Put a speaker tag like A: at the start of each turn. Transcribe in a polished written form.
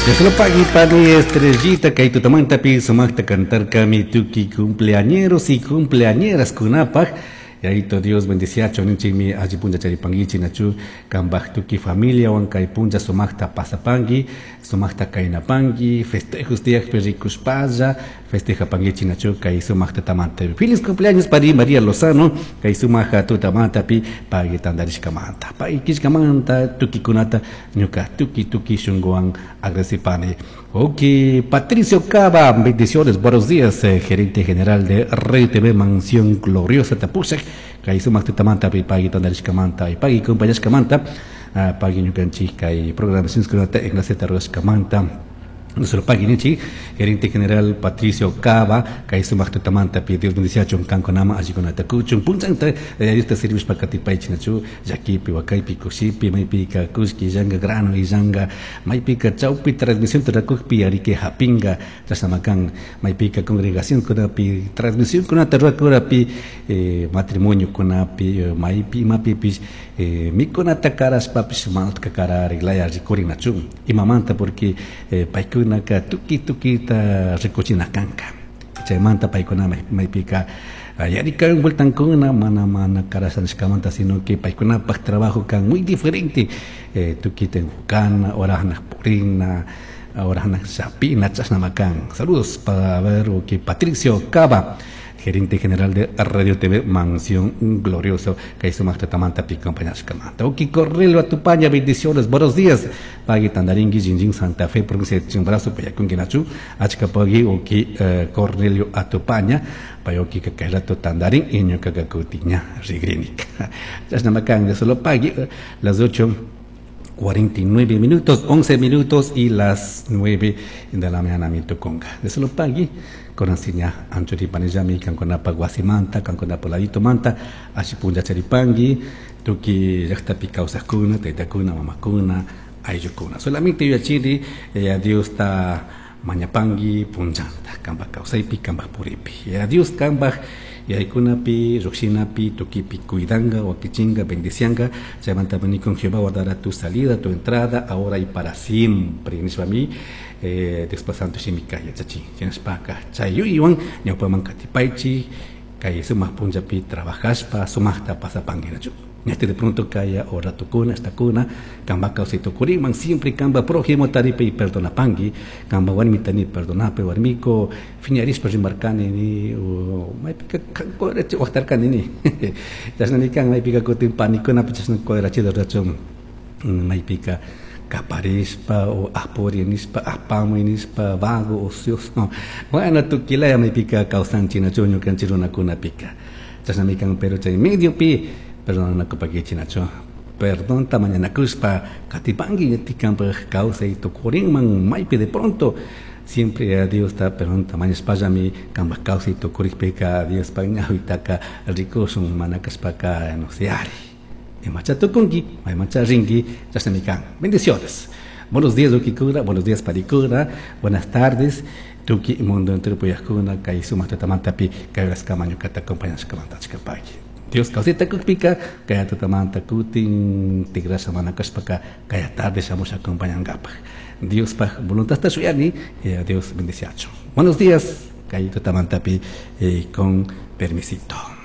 A: Dios pani Estrellita kay tutamantapi sumaqta cantarkami tukuy cumpleañeros y cumpleañeras kunapaq. Yayito Dios bendiciachun ninchikmi alli punlla charipankichik nachu kambaj tukuy familiawan kay punlla sumaqta pasapanki, sumaqta kaynapanki, festejos tiyakpi rikushpalla festejapankichik nachu kay sumaq tutamanta. Feliz cumpleaños pari María Lozano kay sumaq tutamantapi pagui tantarishkamanta. Pagui killkamanta tukikunata ñuka tuki tuki shunkuwan agradecipani. Ok, Patricio Cava, bendiciones, buenos días, gerente general de Red TV Mansión Gloriosa Tapushak, kay sumaq tutamanta pi pagui tantarishkamanta y pagui compañashkamanta, pagui ñukanchik kay programacionkunata enlaceta rurashkamanta. Nuestro pagui ninchik, gerente general Patricio Cava, kay sumaq tutamanta pi Dios bendiciachun kankunama allikunata kuchun punchanta Diosta servishpa katipaychik nachu llakipi wakaypi kushipi maypika kullki illanga grano illanga maypika chawpi transmisión rurakukpi arike hapinga chashnama kan maypika congregacionkunapi transmisionkunata rurakurapi matrimoniokunapi maypi imapipish mikunata karashpapish mana utka karariklaya rikurin nachu imamanta porque paykunaka tukuy tukuyta rikuchina kanka chaymanta paykuna maypika yarikawan vueltankuna mana mana karasha nishkamanta sino que paykunapak trabajo kan muy diferente tukuyta enfocana horanak purina horanak chapina chashnama kan. Saludos para ver que Patricio Cava, gerente general de Radio TV Mansión Glorioso, kay sumaq tutamanta pi acompañashkamanta. Ok, Cornelio Atupaña, bendiciones, buenos días. Pagui Tandaringui, Jinjin, Santa Fe, provincia de Chimborazo, Payacunqui, Nachu, achka pagui, ok, Cornelio Atupaña, payoki kay rato Tandarín, y ñuka kakutiña rigrinik. Chashnama kan, de solo pagui, las 8:49 minutos, 11 minutos y las 9 de la mañana mi tukunga. De solo pagui, konasiña anchuripanillami kankunapa wasimanta, kankunapa ladito manta, ashi punlla charipangui, tuki llaqtapi kawsaqkuna, taytakuna, mamakuna, ayllukuna. Solamente yuyachiri, Dios ta mañapangui punllanta, kanpak kawsaypi, kanpak puripi. Dios kanpak yaykunapi, lluqshinapi, tukipi cuidanga, wakichinga, bendicianga. Chaymanta con Jehová guardará tu salida, tu entrada, ahora y para siempre. Nishpami, Diospa santo shimika yachachin. Shinashpaka chayuywan ñawpaman katipaychik, kay sumaq punllapi trabajashpa, sumaqta pasapanguinachu. Ñate de pronto kaya o ratukuna, estakuna, kamba kawsay tukuriman, siempre kamba prójimo taripe y perdonapangui, kamba warmi tani perdonape, warmiko, fiñarispa rimarkani ni, o maypika kodrachi waqtarkani ni. Chashnami kan maypika kutin panikunapi chashna kodrachido rachun, maypika kaparishpa o apuri nishpa, apamuy nishpa, vago, ocioso. Bueno, tukilaya maypika kawsanchik nachu ñukanchik runakunapika. Chashnami kan, pero chay mediopi perdonanakupakichik nachu. Perdonta mañanakushpa katipangui ñatikanpak kawsay tukurinman maypi de pronto siempre a Dios ta perdonta mañashpallami kanpak kawsay tukurikpika Diospak ñawitaka rikushun mana kashpaka no sé ari. Imacha tukunki, maymancha rinki, chashnami kan. Bendiciones. Buenos días, Ukikura, buenos días, Parikura, buenas tardes. Tuki mundo entero puyajkuna, kay sumaq tutamantapi, kay horaskama ñukata acompañashkamanta achkapaki. Dios kawsayta kukpika, kaya tutamanta kutin, tigrasha mana kashpaka, kaya tarde shamusha acompañankapaj. Diospaj voluntadta shuyani, Dios bendiciacho. Buenos días, kay tutamantapi, con permisito.